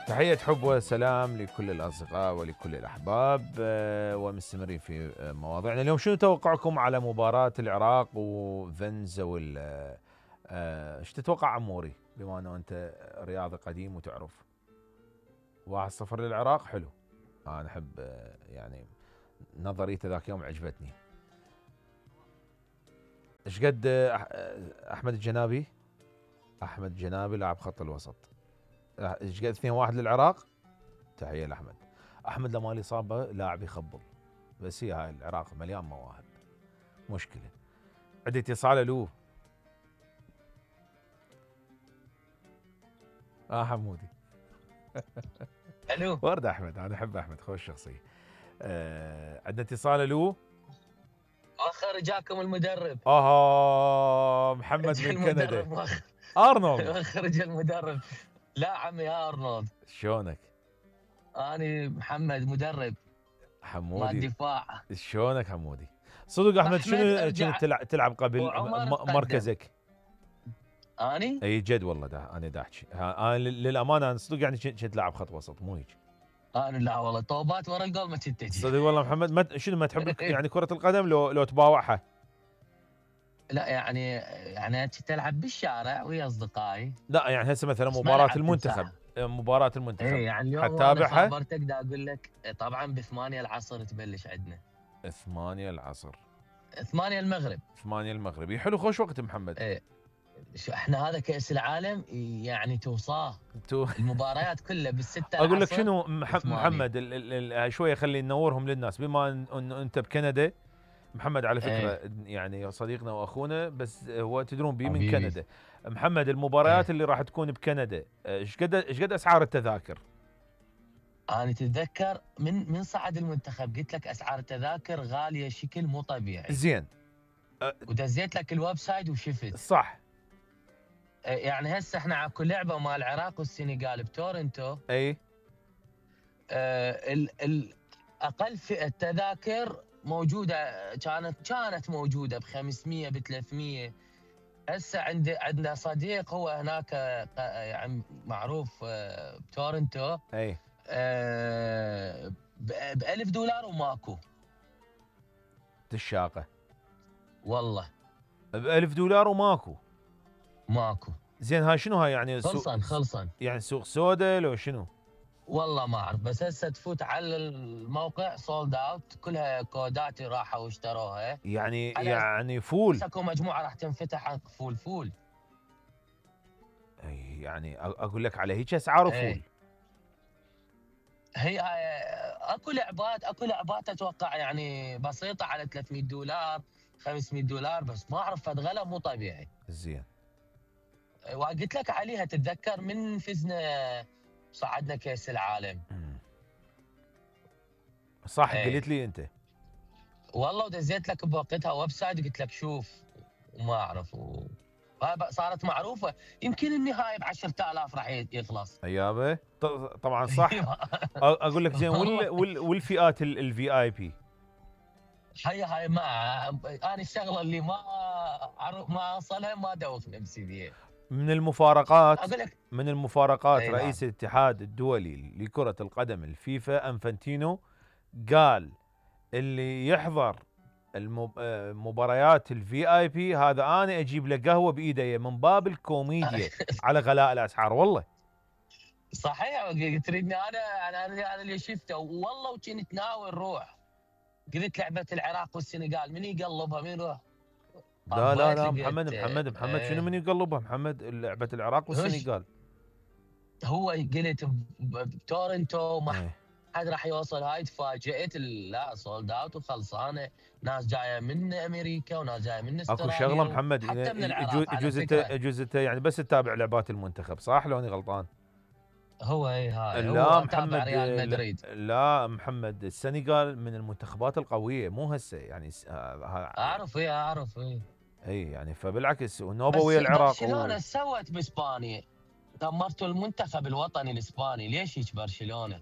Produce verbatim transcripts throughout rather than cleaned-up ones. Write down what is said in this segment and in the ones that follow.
تحية حب وسلام لكل الأصدقاء ولكل الأحباب، آه، ومستمرين في آه، مواضيعنا اليوم. شنو توقعكم على مباراة العراق وفنزويلا؟ آه، ايش تتوقع عموري بما انه انت رياضي قديم وتعرف؟ واحد صفر للعراق. حلو، انا احب آه، يعني نظريته ذاك يوم عجبتني. ايش قد آه، احمد الجنابي؟ احمد الجنابي لاعب خط الوسط. ايش قد اثنين واحد للعراق؟ تحية لأحمد. أحمد لما الإصابة لاعب يخبل، بس هي هاي العراق مليان مواهب، مشكلة. عندي اتصال. ألو. آه حمودي. الو. ورد أحمد، أنا أحب أحمد، خوش شخصية. آه عندنا اتصال. ألو. اخر جاكم المدرب. آه محمد من كندا. أرنولد. اخرج المدرب. لا عمي يا أرنولد. شلونك؟ أنا محمد مدرب حمودي. مال دفاع. شلونك حمودي؟ صدق أحمد، شنو كنت تلعب, تلعب قبل مركزك؟ اني؟ اي جد والله، ده انا دا احكي انا للامانه، انا صدق يعني كنت لاعب خط وسط مو هيك. انا لا والله، طوبات ورا الجول ما كنت تجي. صدق والله محمد. ما شنو ما تحب يعني كره القدم لو لو تباوعها؟ لا يعني يعني كنت العب بالشارع ويا اصدقائي. لا يعني هسه مثلا مباراه المنتخب، مباراه المنتخب اي يعني اليوم حتتابعها؟ انا خبرتك دا اقول لك طبعا بثمانية العصر تبلش عندنا. ثمانية العصر. ثمانية المغرب. ثمانية المغرب. حلو، خوش وقت محمد. ايه شو احنا هذا كأس العالم يعني توصاه تو المباريات كلها بالستة. اقول لك شنو مح محمد، ال ال ال شويه خلي ننورهم للناس بما انه انت بكندا. محمد على فكره ايه. يعني صديقنا واخونا، بس هو تدرون بيه من كندا. محمد المباريات ايه. اللي راح تكون بكندا ايش قد ايش قد اسعار التذاكر؟ انا تتذكر من من صعد المنتخب قلت لك اسعار التذاكر غاليه شكل مو طبيعي. زين. أه ودزيت لك الويب سايت وشفت. صح. يعني هسه احنا على كل لعبه مال العراق والسنغال بتورنتو. اي. آه ال ال اقل فئه تذاكر موجوده، كانت كانت موجوده ب خمسمية ب ثلاثمية. هسه عندي عندنا صديق هو هناك يعني معروف بتورنتو. اي. آه ب ألف دولار وماكو. الشاقه والله ب ألف دولار وماكو. ماكو. زين هاي شنو هاي يعني؟ خلصن خلصن يعني سوق سودا لو شنو؟ والله ما اعرف، بس هسه تفوت على الموقع سولد اوت، كلها كودات راحوا واشتروها. يعني يعني فول. اكو مجموعه راح تنفتح فول فول. اي يعني اقول لك على هيك اسعار فول. هي اكو لعبات اكو لعبات اتوقع يعني بسيطه على ثلاثمية دولار خمسمية دولار، بس ما اعرف فد غلا مو طبيعي. زين. وقلت لك عليها تتذكر من فزنا صعدنا كاس العالم. صح ايه. قلت لي انت والله، ودزيت لك بوقتها ويب سايت قلت لك شوف وما اعرف و... صارت معروفه. يمكن النهائي ب عشرة آلاف راح يخلص. ايابه طبعا صح. اقول لك زين. وال وال والفئات الفي اي بي؟ هي هاي ما انا الشغله اللي ما ما اوصلها ما ادوخ نفسي فيها. من المفارقات اقول لك من المفارقات رئيس الاتحاد الدولي لكرة القدم الفيفا انفانتينو قال اللي يحضر المباريات الفي اي بي هذا انا اجيب له قهوه بايدي من باب الكوميديا على غلاء الاسعار. والله صحيح. تريدني انا انا انا اللي شفته والله، وكنت ناوي نروح. قلت لعبه العراق والسنغال من يقلبها من يروح؟ لا لا لا محمد محمد محمد شنو من يقلبها محمد؟ لعبه العراق والسنغال هو قلت بتورنتو ما حد راح يوصل. هاي تفاجئت. لا سولد اوت وخلصانه. ناس جايه من امريكا وناس جايه من استراليا. اكو شغله محمد، حتى من العراق. يجوز يجوز يعني بس تتابع لعبات المنتخب صح؟ لو اني غلطان. هو اي هاي لا هو محمد ريال مدريد. لا محمد، السنغال من المنتخبات القويه مو هسه يعني. اعرف اي اعرف اي اي يعني فبالعكس ونوبه ويا العراق. برشلونه و... سوت باسبانيا، دمرتوا المنتخب الوطني الاسباني. ليش هيك برشلونه؟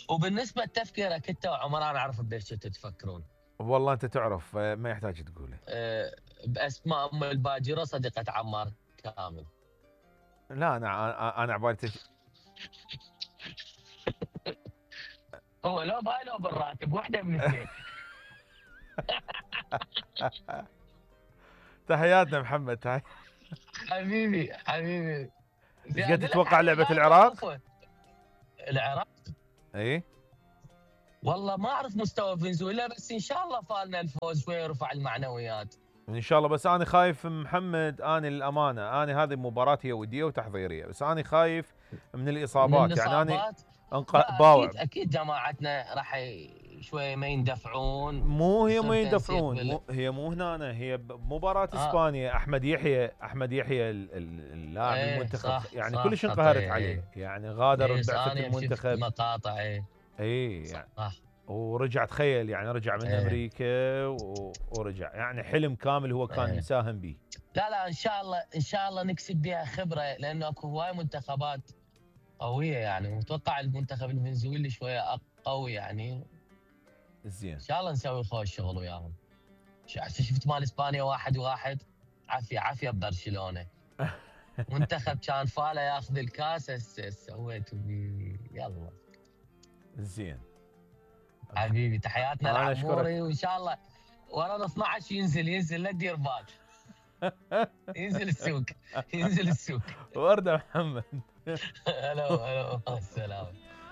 وبالنسبه لتفكيرك انت وعمر، انا اعرف بايش تفكرون. والله انت تعرف ما يحتاج تقوله. أه باسماء ام الباجره صديقه عمار كامل. لا انا انا عبالي تج... هو لو باي لو بالراتب واحده من الاثنين. تحياتنا محمد، تحياتنا. حبيبي حبيبي. ايش قد تتوقع لعبه العراق؟ العراق اي والله ما اعرف مستوى فنزويلا، بس ان شاء الله فالنا الفوز شوي يرفع المعنويات ان شاء الله. بس انا خايف محمد، انا للامانه انا هذه المباراه هي وديه وتحضيريه، بس انا خايف من الاصابات, من يعني انا انق... باوع. اكيد اكيد جماعتنا راح شوي ما يندفعون. مو هي ما يندفعون، مو هي مو هنا، هي مباراه آه. اسبانيا. احمد يحيى احمد يحيى اللاعب ايه المنتخب صح يعني صح كلش انقهرت ايه عليه، يعني غادر ايه بعثه المنتخب مقاطع. ايه اي يعني صح. ورجع تخيل يعني رجع من ايه. امريكا و... ورجع يعني حلم كامل هو كان ايه. مساهم به. لا لا ان شاء الله ان شاء الله نكسب بها خبره، لانه اكو هواي منتخبات قويه يعني. متوقع المنتخب الفنزويلي شويه قوي يعني. زين ان شاء الله نسوي خوش شغل وياهم. شفت مال اسبانيا واحد واحد، عافيه عافيه ببرشلونه. منتخب كان فاله ياخذ الكاس، هسه سويتوا بيه. يلا زين حبيبي، تحياتنا لعموري، وان شاء الله ورا اثنا عشر ينزل ينزل لا تدير بال. ينزل السوق ينزل السوق. ورده محمد. هلا هلا السلام.